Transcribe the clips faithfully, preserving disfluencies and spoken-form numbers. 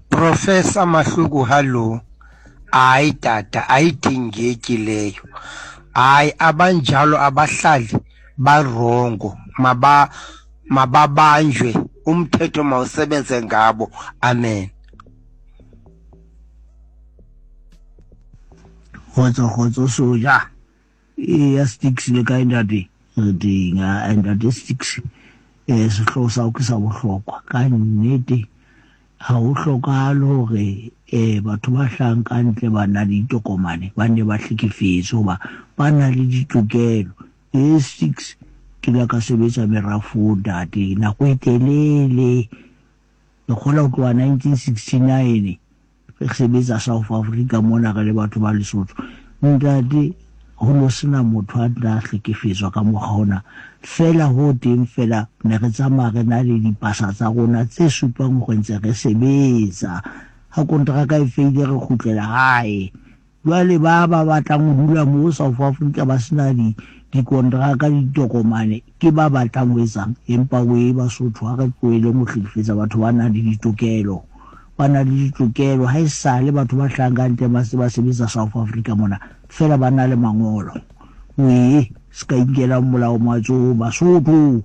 Professor Mahluku, hallo. Hayi tata, ayidingeki leyo. Hayi, abanjalo abahlali barongo, maba mababanjwe, umthetho mawusebenze ngabo. Amen. Kgotso kgotso soja. Eya Sticks le kae ntate? Re teng. A ntate Sticks, eh sehloho sa ke sa bohlokwa. Ka nnete ha ho hlokahale hore eh batho ba hlahang ka ntle ba na le ditokomane ba nne ba hlekefetswe hoba ba na le ditokelo. Eh Sticks, ke la ka sebetsa merafong ntate nako e telele. Ke kgola ho tloha nineteen sixty-nine re sebetsa South Africa mona re le batho ba Lesotho. Ntate, ho no sena motho a tla hlekefetswa ka mokgwa ona. Feela ho teng feela ne re tsamaya re na le dipasa tsa rona tse supang hore ntse re sebetsa. Ha kontraka e feile re kgutlela hae. Jwale ba ba batlang ho dula mo South Africa ba sena di dikontraka le ditokomane ke ba batlang ho etsang. Empa we Basotho ha re tlohelleng ho hlekefetsa batho ba nang le ditokelo. Ba na le ditokelo ha esale batho ba hlahang ka ntle ba se ba sebetsa South Africa mona feela ba na le mangolo. We se ka inkela molao matsohong Basotho.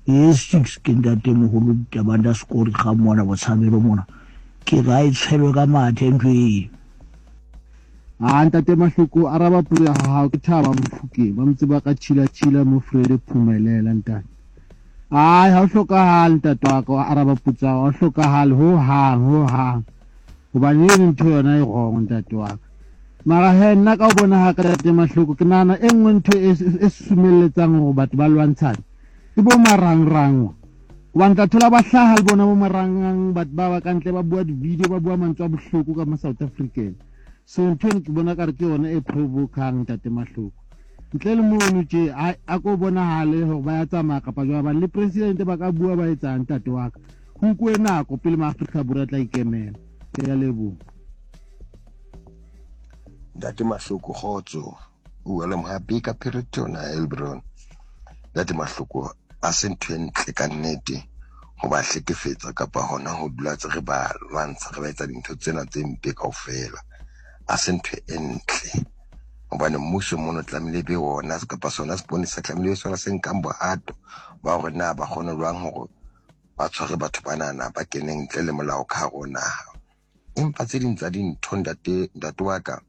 E six ke ntate moholo Ditabanda Sekori ga mona Botshabelo mona. Ke re ha e tshwelwe ka mathe ntho eo. Ah, ntate Mahloko, araba puo ya hao ke Thaba Mofokeng, ba motse ba ka tshila tshila mo Frede Phumelela ntate. Ai, ha o hlokahale ntate wa ka, araba potso ya hao, ha o hlokahale ho hang, ho hang. Hobane eno ntho yona e wrong ntate wa ka. Mara he nna ka o bona ha ka ntate Mahloko, ke nahana e nngwe ntho e, e susumelletsang hore batho ba lwantshane ke bo marangrang. Hobane tla thola ba hlaha le bona bo marangrang, batho ba ba ka ntle ba bua di-video, ba bua mantswe a bohloko ka ma South African. So ntho eno ke bona kare ke yona e provokang ntate Mahloko. Ntle le mono tje, a, a ko bonahale hore ba ya tsamaya kapa jwang, hobane le president ba ka bua ba etsang ntate wa ka. Ho nkuwe nako pele ma-Afrika Borwa a tla ikemela. Ke a leboha. Ntate Mahloko, kgotso. O bua le Mohapi ka Phereton, Elbron. Ntate Mahloko, a se ntho e ntle ka nnete ho ba hlekefetsa kapa hona ho dula tse re ba lwantsha, re ba etsa dintho tsena tse mpe kaofela. A se ntho e ntle. Hobane mmuso mono tlamehile be ona kapa sona seponesa tlamehile be sona se nkang bohato ba hore na ba kgone jwang hore ba tshware batho banana ba keneng ntle le molao ka hare ho naha. Empa tse ding tsa dintho ntate, ntate wa ka,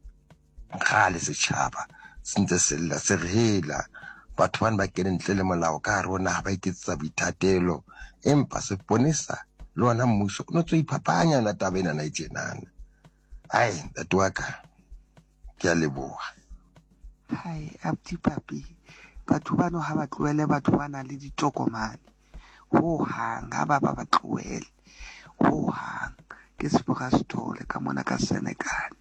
kgale setjhaba se ntse se lla, se re hela batho bana ba kene ntle le molao ka hare ho naha, ba iketsetsa boithatelo. Empa seponesa le ona mmuso o no ntso iphapanya yona taba enana e tjenana. Ai, ntate wa ka, ke a leboha. Hai, abuti Papi, batho bano ha ba tlohele batho ba nang le ditokomane ho hang, ha ba ba ba tlohele ho hang. Ke Sefora Sithole ka mona ka Senekal.